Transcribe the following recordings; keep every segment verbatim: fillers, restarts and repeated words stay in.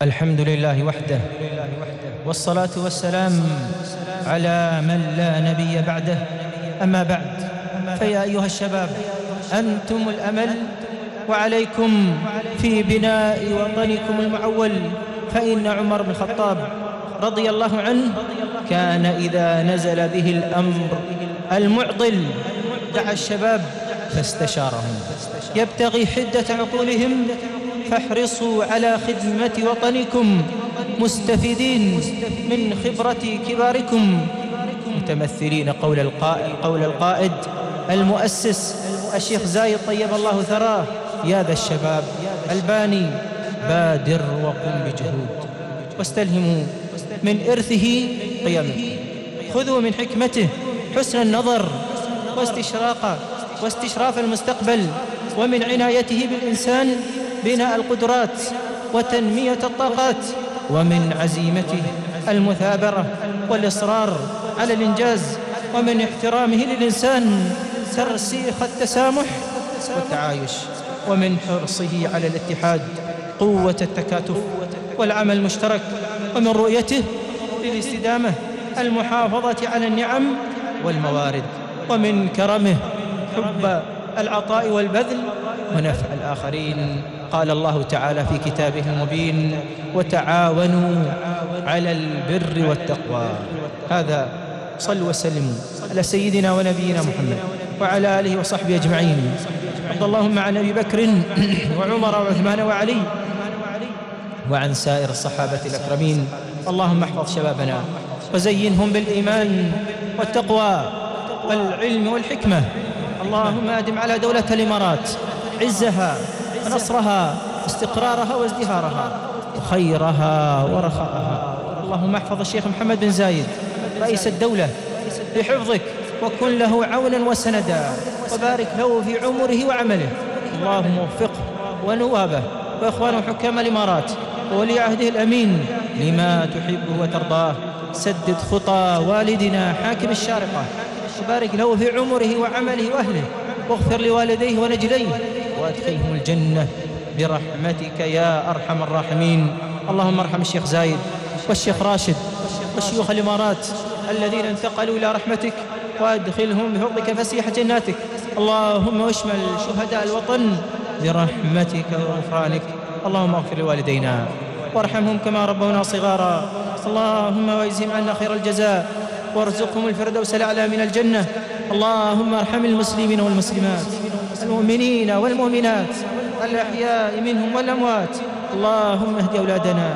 الحمد لله وحده، والصلاة والسلام على من لا نبي بعده. أما بعد، فيا أيها الشباب، أنتم الأمل، وعليكم في بناء وطنكم المعول. فإن عمر بن الخطاب رضي الله عنه كان إذا نزل به الأمر المعضل دعا الشباب فاستشارهم يبتغي حدة عقولهم. فاحرصوا على خدمة وطنكم مستفيدين من خبرة كباركم، متمثلين قول القائد, قول القائد المؤسس الشيخ زايد طيب الله ثراه: يا ذا الشباب الباني، بادر وقم بجهود، واستلهموا من إرثه قيمه، خذوا من حكمته حسن النظر واستشراق واستشراف المستقبل، ومن عنايته بالإنسان بناء القدرات وتنمية الطاقات، ومن عزيمته المثابرة والإصرار على الإنجاز، ومن احترامه للإنسان ترسيخ التسامح والتعايش، ومن حرصه على الاتحاد قوة التكاتف والعمل المشترك، ومن رؤيته للاستدامة المحافظة على النعم والموارد، ومن كرمه حب العطاء والبذل ونفع الآخرين. قال الله تعالى في كتابه المبين: وتعاونوا على البر والتقوى. هذا صلوا وسلموا على سيدنا ونبينا محمد وعلى آله وصحبه أجمعين. وارض اللهم عن أبي بكر وعمر وعثمان وعلي وعن سائر الصحابة الأكرمين. اللهم احفظ شبابنا وزينهم بالإيمان والتقوى والعلم والحكمة. اللهم أدم على دولة الإمارات عزها ونصرها واستقرارها وازدهارها وخيرها ورخاءها. اللهم احفظ الشيخ محمد بن زايد رئيس الدولة بحفظك، وكن له عونا وسندا، وبارك له في عمره وعمله. اللهم وفقه ونوابه وإخوانه حكام الإمارات وولي عهده الأمين لما تحبه وترضاه. سدد خطى والدنا حاكم الشارقة، وبارك له في عمره وعمله وأهله، واغفر لوالديه ونجليه، وأدخلهم الجنة برحمتك يا أرحم الراحمين. اللهم ارحم الشيخ زايد والشيخ راشد والشيوخ الإمارات الذين انتقلوا إلى رحمتك، وأدخلهم بفضلك فسيح جناتك. اللهم اشمل شهداء الوطن برحمتك وغفرانك. اللهم اغفر لوالدينا وارحمهم كما ربونا صغارا. اللهم واجزهم عنا خير الجزاء، وارزقهم الفردوس الأعلى من الجنة. اللهم ارحم المسلمين والمسلمات، المؤمنين والمؤمنات، الأحياء منهم والأموات. اللهم اهد أولادنا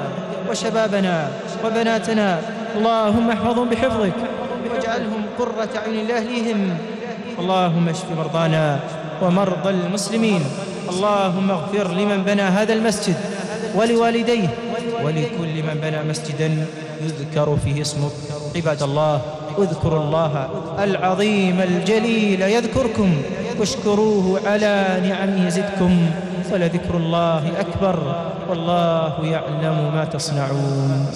وشبابنا وبناتنا. اللهم احفظهم بحفظك واجعلهم قرة عين لأهليهم. اللهم اشف مرضانا ومرضى المسلمين. اللهم اغفر لمن بنى هذا المسجد ولوالديه ولكل من بنى مسجدا يذكر فيه اسمك. عباد الله، اذكروا الله العظيم الجليل يذكركم، واشكروه على نعمه يزدكم، ولذكر الله أكبر، والله يعلم ما تصنعون.